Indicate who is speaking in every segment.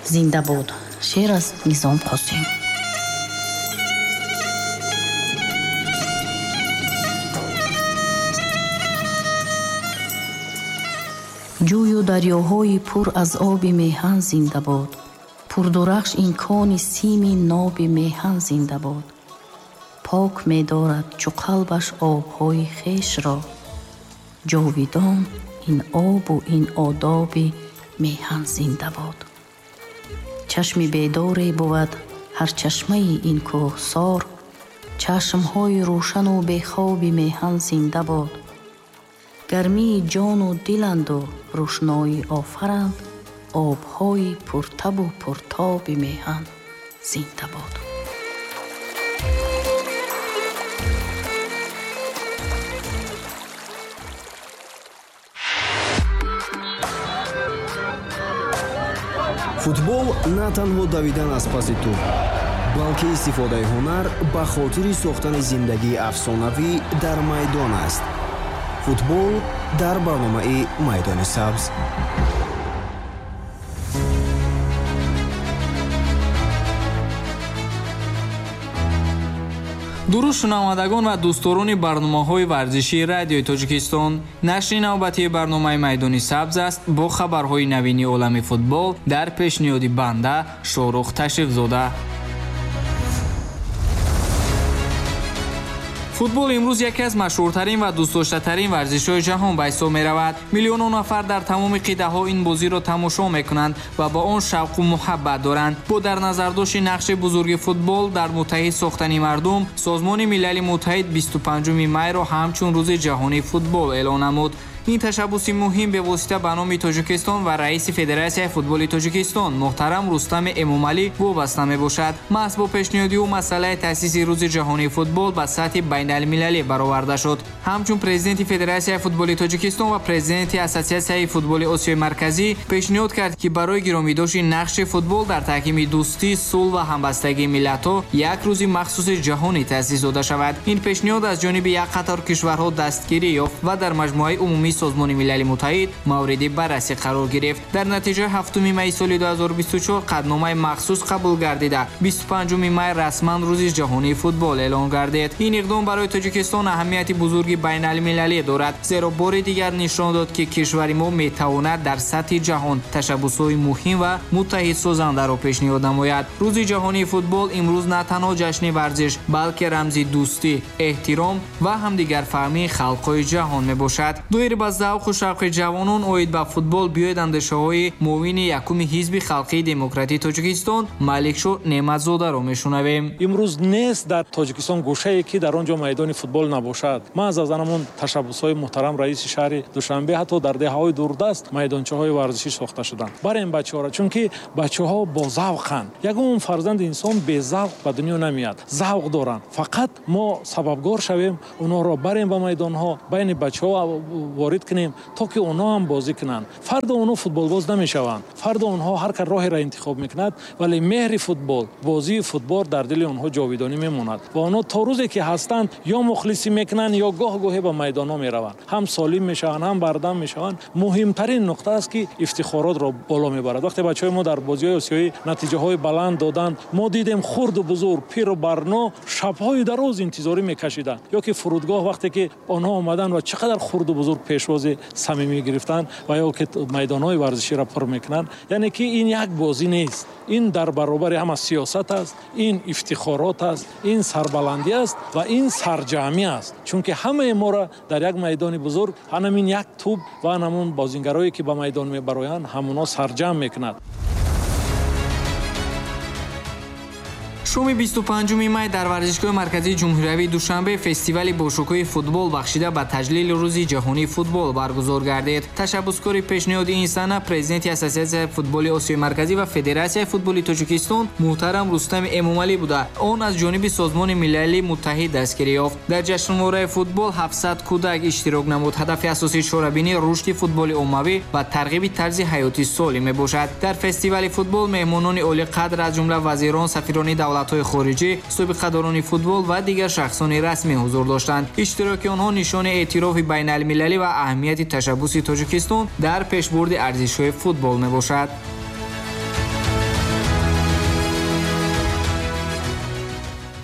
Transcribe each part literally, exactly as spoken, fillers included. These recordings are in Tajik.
Speaker 1: Зинда бод. Шеър аз Низом Қосим. Ҷӯю дарёҳои пур аз оби меҳан зинда бод. Пурдурахш ин кони сими ноби меҳан зинда бод. Пок медорад чу қалбаш обҳои хешро. Ҷовидон ин обу ин одоби меҳан зинда бод. Чашми бедоре бувад ҳар чашмаи ин кӯҳсор. Чашмҳои рӯшану бехоби меҳан зинда бод. Гармии ҷону диланду рӯшноӣ офаранд. Обҳои пуртабу пуртоби меҳан зинда бод.
Speaker 2: Футбол на танҳо давидан аз паси тӯб, балки истифодаи ҳунар ба хотири сохтани зиндагии афсонавӣ дар майдон аст. Футбол дар барномаи Майдони сабз.
Speaker 3: Дуруд шунавандагон ва дӯстдорони барномаҳои варзишии радиои Тоҷикистон. Нашри навбатии барномаи Майдони сабз аст бо хабарҳои навини олами футбол дар пешниҳоди банда Шоҳрух Ташрифзода. Футбол имрӯз яке аз машҳуртарин ва дӯстдоштатарин варзишҳои ҷаҳон ба ҳисоб меравад. Миллионҳо нафар дар тамоми қитъаҳо ин бозиро тамошо мекунанд ва ба он шавқу муҳаббат доранд. Бо дар назардошти нақши бузурги футбол дар муттаҳид сохтани мардум, Созмони Милали Муттаҳид бисту панҷуми майро ҳамчун рӯзи ҷаҳонии футбол эълон намуд. Ин ташаббуси муҳим бевосита ба номи Тоҷикистон ва раиси Федератсияи футболи Тоҷикистон муҳтарам Рустами Эмомалӣ вобаста мебошад. Маҳз бо пешниҳоди ӯ масъалаи таъсиси рӯзи ҷаҳонии футбол ба сатҳи байналмилалӣ бароварда шуд. Ҳамчун президенти Федератсияи футболи Тоҷикистон ва президенти Ассотсиатсияи футболи Осиёи Марказӣ пешниҳод кард, ки барои гиромидошти нақши футбол дар таҳкими дӯстӣ, сулҳ ва ҳамбастагии миллатҳо як рӯзи махсуси ҷаҳонӣ таъсис дода шавад. Ин пешниҳод аз ҷониби як қатор кишварҳо дастгирӣ ёфт ва дар маҷмӯаи умумии Созмони Милали Муттаҳид мавриди баррасӣ қарор гирифт. Дар натиҷа ҳафтуми майи соли ду ҳазору бисту чор қатъномаи махсус қабул гардида, бисту панҷуми май расман рӯзи ҷаҳонии футбол эълон гардид. Ин иқдом барои Тоҷикистон аҳамияти бузурги байналмилалӣ дорад, зеро бори дигар нишон дод, ки кишвари мо метавонад дар сатҳи ҷаҳон ташаббусҳои муҳим ва муттаҳидсозандаро пешниҳод намояд. Рӯзи ҷаҳонии футбол имрӯз на танҳо ҷашни варзиш, балки рамзи дӯстӣ, эҳтиром ва ҳамдигарфаҳмии халқҳои ҷаҳон мебошад. Доир ба завқу шавқи ҷавонон оид ба футбол биёед андешаҳои муовини якуми Ҳизби Халқии Демократии Тоҷикистон Маликшоҳ Неъматзодаро мешунавем.
Speaker 4: Имрӯз нест дар Тоҷикистон гӯшае, ки дар он ҷо майдони футбол набошад. Маҳз аз ҳамон ташаббусҳои муҳтарам раиси шаҳри Душанбе ҳатто дар деҳаҳои дурдаст майдончаҳои варзишӣ сохта шуданд. Барем бачаҳоро, чунки бачаҳо бозавқанд. Ягон фарзанди инсон безавқ ба дунё намеяд. Завқ доранд. Фақат мо сабабгор шавем, онҳоро барем ба майдонҳо, байни бачаҳо ворид кунем, то ки онҳо ҳам бозӣ кунанд. Фардо онҳо футболбоз намешаванд. Фардо онҳо ҳар кар роҳеро интихоб мекунад, вале меҳри футбол, бозии футбол дар дили онҳо ҷовидонӣ мемонад ва онҳо то рӯзе ки ҳастанд ё мухлисӣ мекунанд, ё гоҳ-гоҳе ба майдонҳо мераванд. Ҳам солим мешаванд, ҳам бардам мешаванд. Муҳимтарин нуқта аст, ки ифтихоротро боло мебарад. Вақте бачаҳои мо дар бозиҳои осиёӣ натиҷаҳои баланд доданд, мо дидем хурду бузург, пиру барно шабҳои дароз интизорӣ мекашиданд. Ё ки фурудгоҳ вақте ки онҳо омаданд ва чӣ қадар хурду бузург пешвози самимӣ гирифтанд ва ё ки майдонҳои варзиширо пур мекунанд. Яъне ки ин як бозӣ нест, ин дар баробари ҳама сиёсат аст, ин ифтихорот аст, ин сарбаландӣ аст ва ин сарҷамъӣ аст. Чунки ҳамаи моро дар як майдони бузург ҳамин як тӯб ва ҳамон бозингарое ки ба майдон мебароянд, ҳамонҳо сарҷамъ мекунад.
Speaker 3: Шоми бисту панҷуми май дар варзишгоҳи марказии ҷумҳуриявии Душанбе фестивали бошукӯҳи футбол бахшида ба таҷлили рӯзи ҷаҳонии футбол баргузор гардид. Ташаббускори пешниҳоди ин сана президенти Ассотсиатсияи футболи Осиёи Марказӣ ва Федератсияи футболи Тоҷикистон муҳтарам Рустами Эмомалӣ буда. Он аз ҷониби Созмони Милали Муттаҳид дастгирӣ ёфт. Дар ҷашнвораи футбол ҳафтсад кӯдак иштирок намуд. Ҳадафи асосии чорабинӣ рушди футболи оммавӣ ва тарғиби тарзи ҳаёти солим мебошад. Дар фестивали футбол меҳмонони олиқадр аз ҷумла вазирон, сафирони давлат давлатҳои хориҷӣ, собиқадорони футбол ва дигар шахсони расмӣ ҳузур доштанд. Иштироки онҳо нишони эътирофи байналмилалӣ ва аҳамияти ташаббуси Тоҷикистон дар пешбурди арзишҳои футбол мебошад.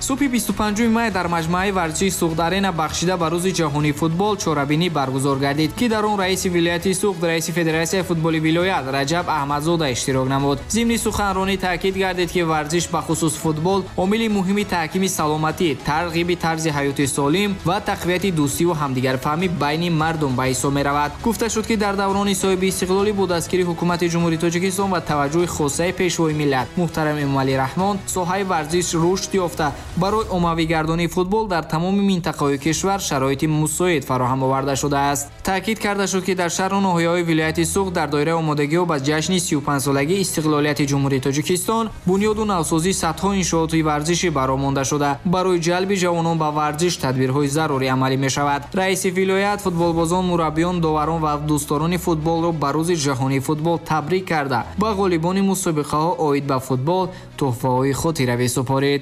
Speaker 3: Субҳи бисту панҷуми май дар маҷмӯаи варзишии Суғд Арена бахшида ба рӯзи ҷаҳонии футбол чорабинӣ баргузор гардид, ки дар он раиси вилояти Суғд, раиси Федератсияи футболи вилоят Раҷаб Аҳмадзода иштирок намуд. Зимни суханронӣ таъкид гардид, ки варзиш бахусус футбол омили муҳими таҳкими саломатӣ, тарғиби тарзи ҳаёти солим ва тақвияти дӯстиву ҳамдигарфаҳмӣ байни мардум ба ҳисоб меравад. Гуфта шуд, ки дар даврони соҳиби истиқлолӣ бо дастгирии ҳукумати Ҷумҳурии Тоҷикистон ва таваҷҷӯҳи хосаи пешвои миллат муҳтарам Эмомалӣ Раҳмон соҳаи варзиш рушд ёфта, барои оммавигардонии футбол дар тамоми минтақаҳои кишвар шароити мусоид фароҳам оварда шудааст. Таъкид карда шуд, ки дар шаҳру ноҳияҳои вилояти Суғд дар доираи омодагиҳо ба ҷашни сию панҷсолагии истиқлолияти Ҷумҳурии Тоҷикистон бунёду навсозии садҳо иншооти варзишӣ бароҳ монда шуда, барои ҷалби ҷавонон ба варзиш тадбирҳои зарурӣ амалӣ мешавад. Раиси вилоят футболбозон, мураббиён, доварон ва дӯстдорони футболро ба рӯзи ҷаҳонии футбол табрик карда, ба ғолибони мусобиқаҳо оид ба футбол тӯҳфаҳои хотиравӣ супорид.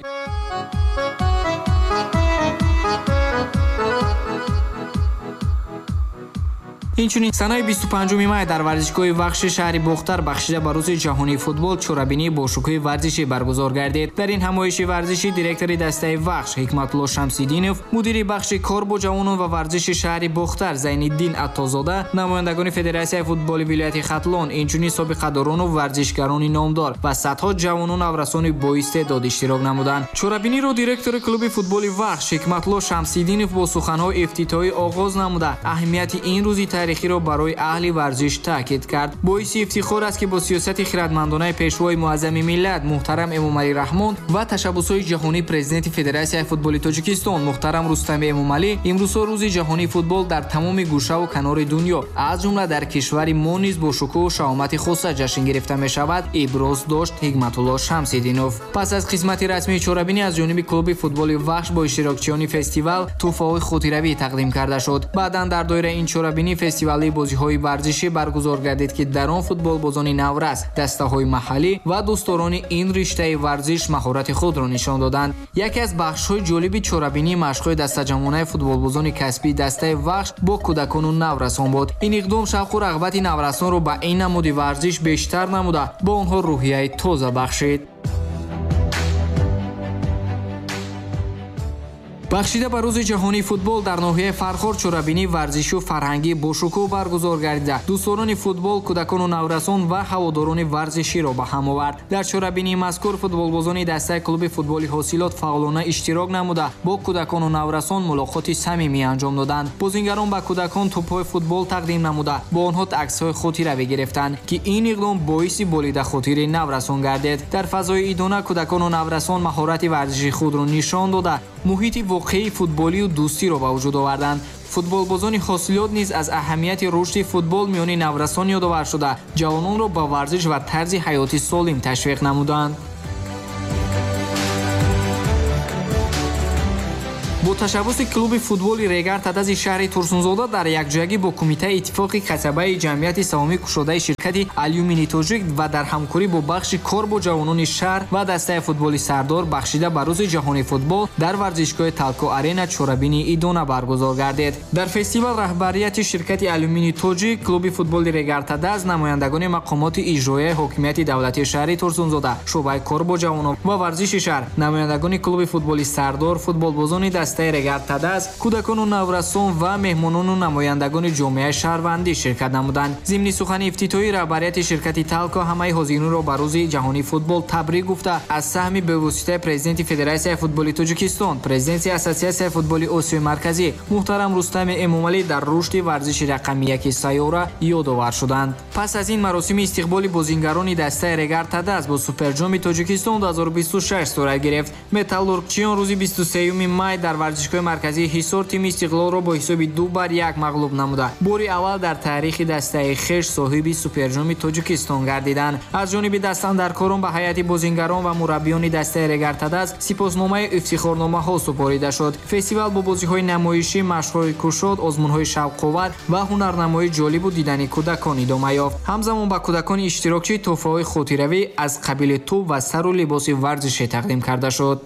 Speaker 3: Инчунин санаи бисту панҷуми май дар варзишгоҳи Вахши шаҳри Бохтар бахшида ба рӯзи ҷаҳонии футбол чорабинии бошукӯҳи варзишӣ баргузор гардид. Дар ин ҳамоиши варзишӣ директори дастаи Вахш Ҳикматулло Шамсиддинов, мудири бахши кор бо ҷавонон ва варзиши шаҳри Бохтар Зайниддин Аттозода, намояндагони Федератсияи футболи вилояти Хатлон, инчунин собиқадорону варзишгарони номдор ва садҳо ҷавону наврасони боистеъдод иштирок намуданд. Чорабиниро директори клуби футболи Вахш Ҳикматулло Шамсиддинов бо суханҳои ифтитоҳӣ оғоз намуда, аҳамияти ин рӯзи таърихиро барои аҳли варзиш таъкид кард. Боиси ифтихор аст, ки бо сиёсати хирадмандонаи пешвои муаззами миллат муҳтарам Эмомалӣ Раҳмон ва ташаббусҳои ҷаҳонии президенти Федератсияи футболи Тоҷикистон муҳтарам Рустами Эмомалӣ имрӯзҳо рӯзи ҷаҳонии футбол дар тамоми гӯшаву канори дунё, аз ҷумла дар кишвари мо низ бо шукӯҳу шаҳомати хоса ҷашн гирифта мешавад, иброз дошт Ҳикматулло Шамсиддинов. Пас аз қисмати расмии чорабинӣ аз ҷониби клуби футболи Вахш бо иштирокчиёни фестивал тӯҳфаҳои хотиравӣ тақдим карда шуд. Баъдан дар доираи ин чорабинӣ фестивали бозиҳои варзишӣ баргузор гардид, ки дар он футболбозони наврас, дастаҳои маҳаллӣ ва дӯстдорони ин риштаи варзиш маҳорати худро нишон доданд. Яке аз бахшҳои ҷолиби чорабинӣ машқҳои дастаҷамъонаи футболбозони касбии дастаи Вахш бо кӯдакону наврасон буд. Ин иқдом шавқу рағбати наврасонро ба ин намуди варзиш бештар намуда, ба онҳо рӯҳияи тоза бахшид. Бахшида ба рӯзи ҷаҳонии футбол дар ноҳияи Фархор чорабинии варзишу фарҳангӣ бошукӯҳ баргузор гардида, дӯстдорони футбол, кӯдакону наврасон ва ҳаводорони варзиширо ба ҳам овард. Дар чорабинии мазкур футболбозони дастаи клуби футболи Ҳосилот фаъолона иштирок намуда, бо кӯдакону наврасон мулоқоти самимӣ анҷом доданд. Бозингарон ба кӯдакон тӯбҳои футбол тақдим намуда, бо онҳо аксҳои хотиравӣ гирифтанд, ки ин иқдом боиси болидахотири наврасон гардид. Дар фазои идона кӯдакону наврасон маҳорати варзиши худро нишон дода, муҳити воқеии футболию дӯстиро ба вуҷуд оварданд. Футболбозони Ҳосилот низ аз аҳамияти рушди футбол миёни наврасон ёдовар шуда, ҷавононро ба варзиш ва тарзи ҳаёти солим ташвиқ намуданд. Бо ташаббуси клуби футболи Регар Тадази шаҳри Турсунзода дар якҷоягӣ бо Кумитаи иттифоқи касабаи ҷамъияти саҳомӣ кушодаи ширкати Алюмини Тоҷик ва дар ҳамкорӣ бо бахши кор бо ҷавонони шаҳр ва дастаи футболи Сардор бахшида ба рӯзи ҷаҳонии футбол дар варзишгоҳи Талко Арена чорабинии идона баргузор гардид. Дар фестивал раҳбарияти ширкати Алюмини Тоҷик, клуби футболи Регар Тадаз, намояндагони мақомоти иҷроияи ҳокимияти давлатии шаҳри Турсунзода, шӯъбаи кор бо ҷавонон ва варзиши шаҳр, намояндагони клуби футболи Сардор, футболбозони дастаи Регар Тадаз, кӯдакону наврасон ва меҳмонону намояндагони ҷомеаи шаҳрвандӣ ширкат намуданд. Зимни сухани ифтитоҳӣ раҳбарияти ширкати Талко ҳамаи ҳозиринро ба рӯзи ҷаҳонии футбол табрик гуфта, аз саҳми бевоситаи президенти Федератсияи футболи Тоҷикистон, президенти Ассотсиатсияи футболи Осиёи Марказӣ муҳтарам Рустами Эмомалӣ дар рушди варзиши рақами яки сайёра ёдовар шуданд. Пас аз ин маросими истиқболи бозингарони дастаи Регар Тадаз бо Суперҷоми Тоҷикистон ду ҳазору бисту шаш сурат гирифт. Металлургчиён рӯзи бисту сеюми май дар варзишгоҳи марказии Ҳисор тими Истиқлолро бо ҳисоби ду бар як мағлуб намуда, бори аввал дар таърихи дастаи хеш соҳиби Суперҷоми Тоҷикистон гардиданд. Аз ҷониби дастандаркорон ба ҳайати бозингарон ва мураббиёни дастаи Регар Тадаз сипосномаи ифтихорномаҳо супорида шуд. Фестивал бо бозиҳои намоишӣ, машқҳои кушод, озмунҳои шавқовар ва ҳунарнамоии ҷолибу дидани кӯдакон идома ёфт. Ҳамзамон ба кӯдакони иштирокчӣ тӯҳфаҳои хотиравӣ аз қабили тӯб ва сару либоси варзишӣ тақдим карда шуд.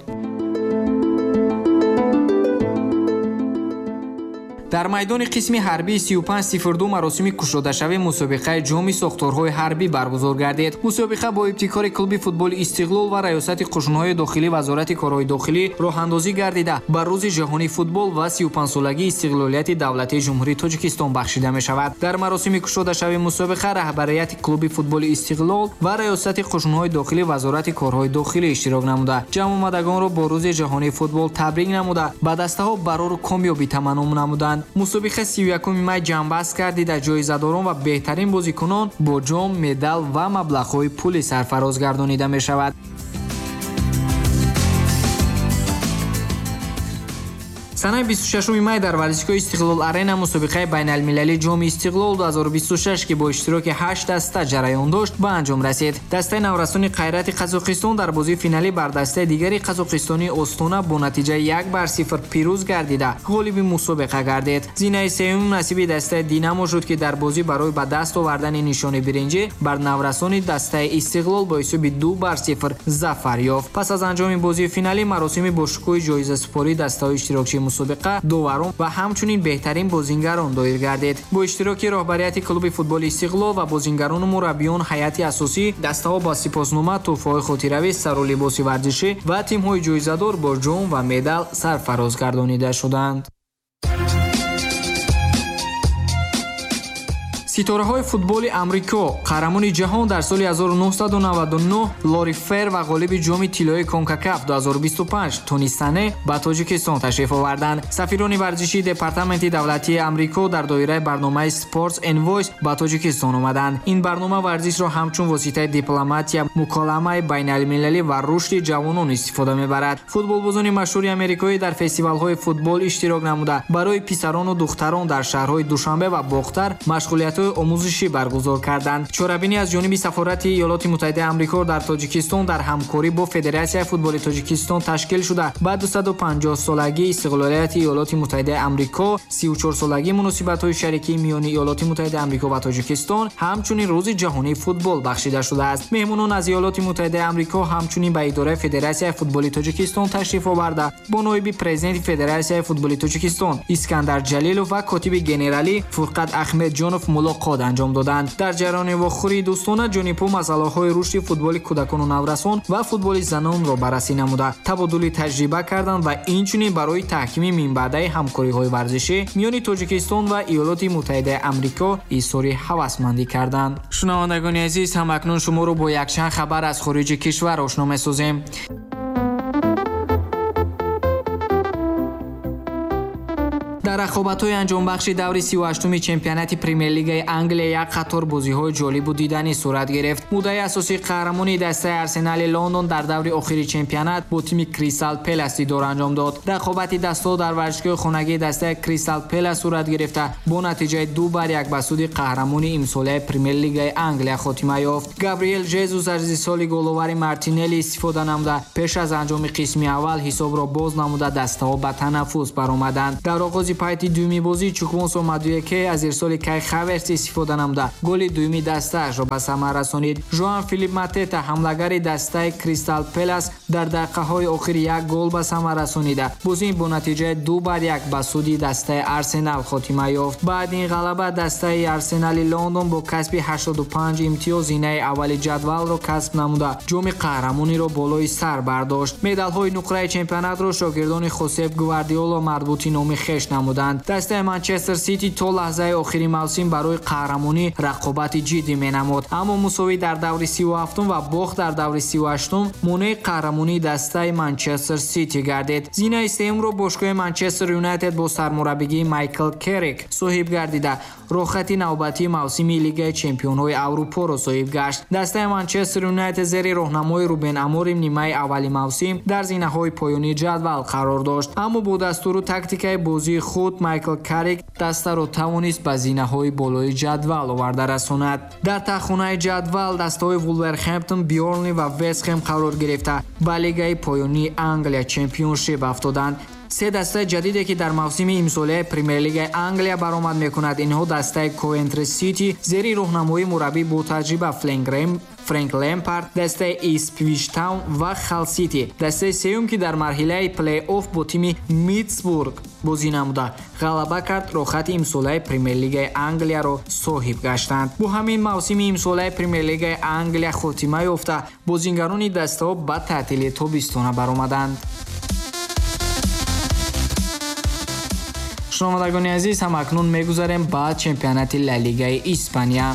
Speaker 3: Дар майдони қисми ҳарбии сию панҷ сифр ду маросими кушодашавии мусобиқаи ҷоми сохторҳои ҳарбӣ баргузор гардид. Мусобиқа бо ибтикори клуби футболи Истиқлол ва раёсати қушунҳои дохилӣ Вазорати корҳои дохилӣ роҳандозӣ гардида, ба рӯзи ҷаҳонии футбол ва сию панҷсолагии истиқлолияти давлатии Ҷумҳурии Тоҷикистон бахшида мешавад. Дар маросими кушодашавии мусобиқа раҳбарияти клуби футболи Истиқлол ва раёсати қушунҳои дохилӣ Вазорати корҳои дохилӣ иштирок намуда, ҷамъомадагонро бо рӯзи ҷаҳонии футбол табрик намуда, ба дастаҳо барору комёбӣ таманно намуданд. Мусобиқа сию якуми май ҷамъбаст гардида, ҷоизадорон ва беҳтарин бозикунон бо ҷом, медал ва маблағҳои пулӣ сарфароз гардонида мешавад. Санаи бисту шашуми май дар варзишгоҳи Истиқлол Арена мусобиқаи байналмилалии ҷоми Истиқлол ду ҳазору бисту шаш, ки бо иштироки ҳашт даста ҷараён дошт, ба анҷом расид. Дастаи наврасони Қайрати Қазоқистон дар бозии финалӣ бар дастаи дигари қазоқистонии Остона бо натиҷаи як бар сифр пирӯз гардида, ғолиби мусобиқа гардид. Зинаи сеюм насиби дастаи Динамо шуд, ки дар бозӣ барои ба даст овардани нишони биринҷӣ бар наврасони дастаи Истиқлол бо ҳисоби ду бар сифр зафар ёфт. Пас аз анҷоми бозии финалӣ маросими бошукӯҳи ҷоизасупории дастаҳои иштирокчии мусобиқа, доварон ва ҳамчунин беҳтарин бозингарон доир гардид. Бо иштироки роҳбарияти клуби футболи Истиқлол ва бозингарону мураббиён ҳайати асосӣ дастаҳо бо сипоснома, тӯҳфаҳои хотиравӣ, сару либоси варзишӣ ва тимҳои ҷоизадор бо ҷом ва медал сарфароз гардонида шуданд. Ситораҳои футболи Амрико, қаҳрамони ҷаҳон дар соли ҳазору нӯҳсаду наваду нӯҳ Лори Фер ва ғолиби ҷоми тиллои Конкакаф ду ҳазору бисту панҷ Тони Сане ба Тоҷикистон ташриф оварданд. Сафирони варзишии Департаменти давлатии Амрико дар доираи барномаи Sports Envoys ба Тоҷикистон омаданд. Ин барнома варзишро ҳамчун воситаи дипломатия, муколамаи байналмилалӣ ва рушди ҷавонон истифода мебарад. Футболбозони машҳури амрикоӣ дар фестивалҳои футбол иштирок намуда, барои писарону духтарон дар шаҳрҳои Душанбе ва Бохтар машғулиятҳои омӯзишӣ баргузор карданд. Чорабинӣ аз ҷониби сафорати Иёлоти Муттаҳидаи Амрико дар Тоҷикистон дар ҳамкорӣ бо Федератсияи футболи Тоҷикистон ташкил шуда, ба дусаду панҷоҳ солагии истиқлолияти Иёлоти Муттаҳидаи Амрико, сию чор солагии муносибатҳои шарикии миёни Иёлоти Муттаҳидаи Амрико ва Тоҷикистон, ҳамчунин рӯзи ҷаҳонии футбол бахшида шудааст. Меҳмонон аз Иёлоти Муттаҳидаи Амрико ҳамчунин ба идораи Федератсияи футболи Тоҷикистон ташриф оварда, бо ноиби президенти Федератсияи футболи Тоҷикистон Искандар Ҷалилов ва котиби генералӣ Фурқат Аҳмедҷонов мулоқот анҷом доданд. Дар ҷараёни вохӯрии дӯстона ҷонибҳо масъалаҳои рушди футболи кӯдакону наврасон ва футболи занонро баррасӣ намуда, табодули таҷриба карданд ва инчунин барои таҳкими минбаъдаи ҳамкориҳои варзишӣ миёни Тоҷикистон ва Иёлоти Муттаҳидаи Амрико изҳори ҳавасмандӣ карданд. Шунавандагони азиз, ҳамакнун шуморо бо якчанд хабар аз хориҷи кишвар ошно месозем. Дар рақобатҳои анҷомбахши даври сию ҳаштуми чемпионати Премер-лигаи Англия як қатор бозиҳои ҷолибу диданӣ сурат гирифт. Муддаи асосии қаҳрамони дастаи Арсенали Лондон дар даври охири чемпионат бо тими Кристал Пелас дидор анҷом дод. Рақобати дастаҳо дар варзишгоҳи хонагии дастаи Кристал Пелас сурат гирифта, бо натиҷаи ду бар як ба суди қаҳрамони имсолаи Премер-лигаи Англия хотима ёфт. Габриел Жезус аз ирсоли головари Мартинелли истифода намуда, пеш аз анҷоми қисми аввал ҳисобро боз намуда, дастаҳо ба танаффус баромаданд. Дар оғози пайти дуюми бозӣ Чуквонсо Мадуеке аз ирсоли Кай Хаверс истифода намуда, голи дуюми дастаашро ба самар расонид. Жоан Филип Матета, ҳамлагари дастаи Кристал Пелас, дар дақиқаҳои охир як гол ба самар расонида, бозӣ бо натиҷаи ду бар як ба суди дастаи Арсенал хотима ёфт. Баъди ин ғалаба дастаи Арсенали Лондон бо касби ҳаштоду панҷ имтиёз зинаи аввали ҷадвалро касб намуда, ҷоми қаҳрамониро болои сар бардошт. Медалҳои нуқраи чемпионатро шогирдони Хосеп Гвардиоло марбути номи хеш намуданд. Дастаи Манчестер Сити то лаҳзаи охири мавсим барои қаҳрамонӣ рақобати ҷиддӣ менамуд, аммо мусовӣ дар даври сию ҳафтум ва бохт дар даври сию ҳаштум монеи қаҳрамонии дастаи Манчестер Сити гардид. Зинаи сеюмро бошгоҳи Манчестер Юнайтед бо сармураббигии Майкл Керрик соҳиб гардида, роҳхати навбатии мавсими Лигаи чемпионҳои Аврупоро соҳиб гашт. Дастаи Манчестер Юнайтед зери роҳнамои Рубен Аморим нимаи аввали мавсим дар зинаҳои поёнии ҷадвал қарор дошт, аммо бо дастуру тактикаи бозии худ Майкл Каррик дастаро тавонист ба зинаҳои болои ҷадвал оварда расонад. Дар таххонаи ҷадвал дастаҳои Вулверхэмптон, Бёрнли ва Вестхэм қарор гирифта, ба лигаи поёнии Англия Чемпионшип афтоданд. Се дастаи ҷадиде ки дар мавсими имсолаи Премер-лигаи Англия баромад мекунад, инҳо дастаи Ковентри Сити зери роҳнамоии мураббӣ бо таҷриба Фрэнк Лемпард, дастаи Ипсвич Таун ва Хал Сити. Дастаи сеюм ки дар марҳилаи плей-офф бо тими Мидсбург бозӣ намуда ғалаба кард, роҳхати имсолаи Премер-лигаи Англияро соҳиб гаштанд. Бо ҳамин мавсими имсолаи Премер-лигаи Англия хотима ёфта, бозингарони дастаҳо ба таътили тобистона баромаданд. Шунавандагони азиз, ҳамакнун мегузарем ба чемпионати Ла Лигаи Испания.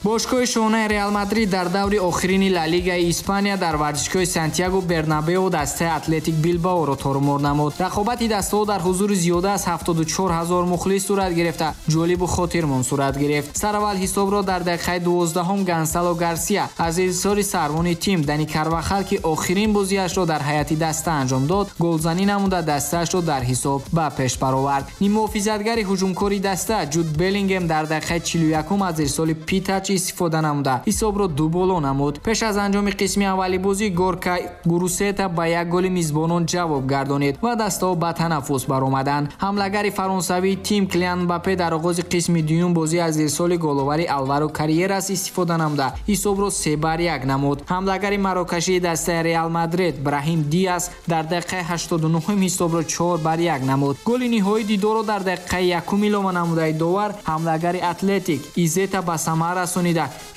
Speaker 3: Бошгоҳи шоҳонаи Реал Мадрид дар даври охирини Ла Лигаи Испания дар варзишгоҳи Сантьяго Бернабео дастаи Атлетик Билбаоро торумор намуд. Рақобати дастаҳо дар ҳузури зиёда аз ҳафтоду чор ҳазор мухлис сурат гирифта, ҷолибу хотирмон сурат гирифт. Сараввал ҳисобро дар дақиқаи дувоздаҳум Гонсало Гарсия аз ирсоли сарвони тим Дани Карвахал, ки охирин бозиашро дар ҳайати даста анҷом дод, голзанӣ намуда дастаашро дар ҳисоб ба пеш баровард. Ниммуҳофизатгари ҳуҷумкори даста Ҷуд Беллингем дар дақиқаи чилу якум аз ирсоли Питач истифода намуда ҳисобро ду боло намуд. Пеш аз анҷоми қисми аввали бозӣ Горка Гурусета ба як голи мизбонон ҷавоб гардонид ва дастаҳо ба танаффус баромаданд. Ҳамлагари фаронсавии тим Килиан Мбаппе дар оғози қисми дуюм бозӣ аз ирсоли головари Алваро Карьерас истифода намуда ҳисобро се бар як намуд. Ҳамлагари марокашии дастаи Реал Мадрид Браҳим Диас дар дақиқаи ҳаштоду нуҳум ҳисобро чор бар як намуд. Голи ниҳоии дидорро дар дақиқаи якум илова намудаи довар ҳамлагари Атлетик Изета ба самар расонида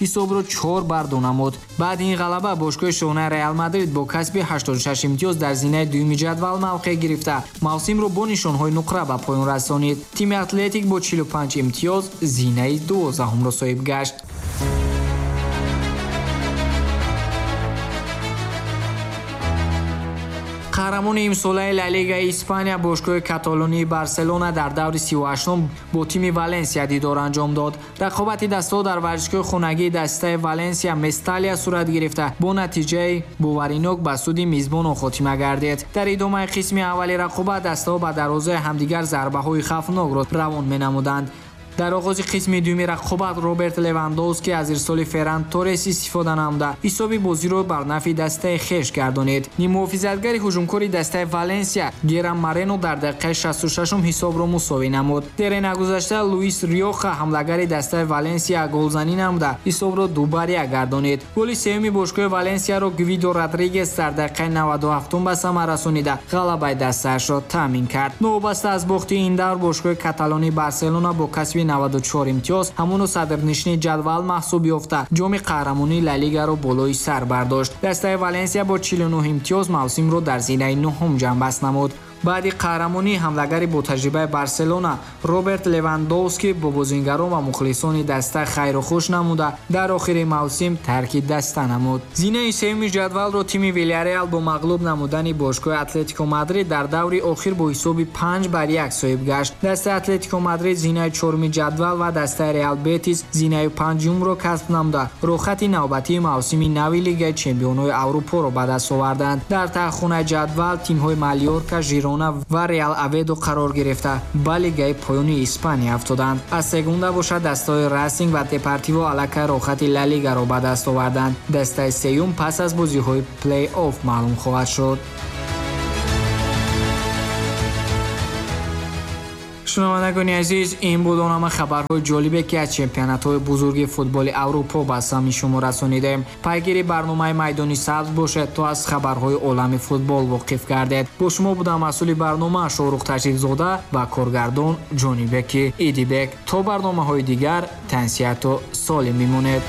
Speaker 3: ҳисобро чор бар ду намуд. Баъди ин ғалаба бошгоҳи шоҳонаи Реал Мадрид бо касби ҳаштоду шаш имтиёз дар зинаи дуюми ҷадвал мавқеъ гирифта, мавсимро бо нишонҳои нуқра ба поён расонид. Тими Атлетик бо чилу панҷ имтиёз зинаи дувоздаҳумро соҳиб гашт. Қаҳрамони имсолаи Ла Лигаи Испания бошгоҳи каталонии Барселона дар даври сию ҳаштум бо тими Валенсия дидор анҷом дод. Рақобати дастаҳо дар варзишгоҳи хонагии дастаи Валенсия Месталия сурат гирифта, бо натиҷаи боваринок ба суди мизбонон хотима гардид. Дар идомаи қисми аввали рақобат дастаҳо ба дарвозаи ҳамдигар зарбаҳои хавфнокро равон менамуданд. Дар оғози қисми дуюми рақобат Роберт Левандовски аз ирсоли Ферран Торрес истифода намуда ҳисоби бозиро бар нафъи дастаи хеш гардонид. Ниммуҳофизатгари ҳуҷумкори дастаи Валенсия Геран Марено дар дақиқаи шасту шашум ҳисобро мусовӣ намуд. Дере нагузашта Луис Риоха ҳамлагари дастаи Валенсия голзанӣ намуда ҳисобро ду бар як гардонид. Голи сеюми бошгоҳи Валенсияро Гвидо Родригес дар дақиқаи наваду ҳафтум ба самар расонида ғалабаи дастаашро таъмин кард. Новобаста аз бохти ин давр бошгоҳи каталонии Барселона бо касби наваду чор имтиёз ҳамоно садрнишини ҷадвал маҳсуб ёфта, ҷоми қаҳрамонии Ла Лигаро болои сар бардошт. Дастаи Валенсия бо чилу нӯҳ имтиёз мавсимро дар зинаи нуҳум ҷамъбаст намуд. Баъди қаҳрамонӣ ҳамлагари ботаҷрибаи Барселона Роберт Левандовски бо бозингарон ва мухлисони даста хайру хуш намуда дар охири мавсим тарки даста намуд. Зинаи сеюми ҷадвалро тими Вилярреал бо мағлуб намудани бошгоҳи Атлетико Мадрид дар даври охир бо ҳисоби панҷ бар як соҳиб гашт. Дастаи Атлетико Мадрид зинаи чоруми ҷадвал ва дастаи Реал Бетис зинаи панҷумро касб намуда роҳхати навбатии мавсими нави Лигаи чемпионҳои Аврупоро ба даст оварданд. Дар таҳхонаи ҷадвал тимҳои Малёрка, Жирона ва Реал Оведо қарор гирифта ба лигаи поёни Испания афтоданд. Аз сегунда бошад дастаҳои Расинг ва Депортиво аллакай роҳхати Ла Лигаро ба даст оварданд. Дастаи сеюм пас аз бозиҳои плей-офф маълум хоҳад шуд. Шунавандагони азиз, ин буд он ҳама хабарҳои ҷолибе, ки аз чемпионатҳои бузурги футболи Аврупо ба самъи шумо расонидем. Пайгири барномаи Майдони сабз бошед, то аз хабарҳои олами футбол воқиф гардед. Бо шумо будам масъули барнома Шоҳрух Ташрифзода ва коргардон Ҷонибеки Идибек. То барномаҳои дигар тансиҳату солим бимонед.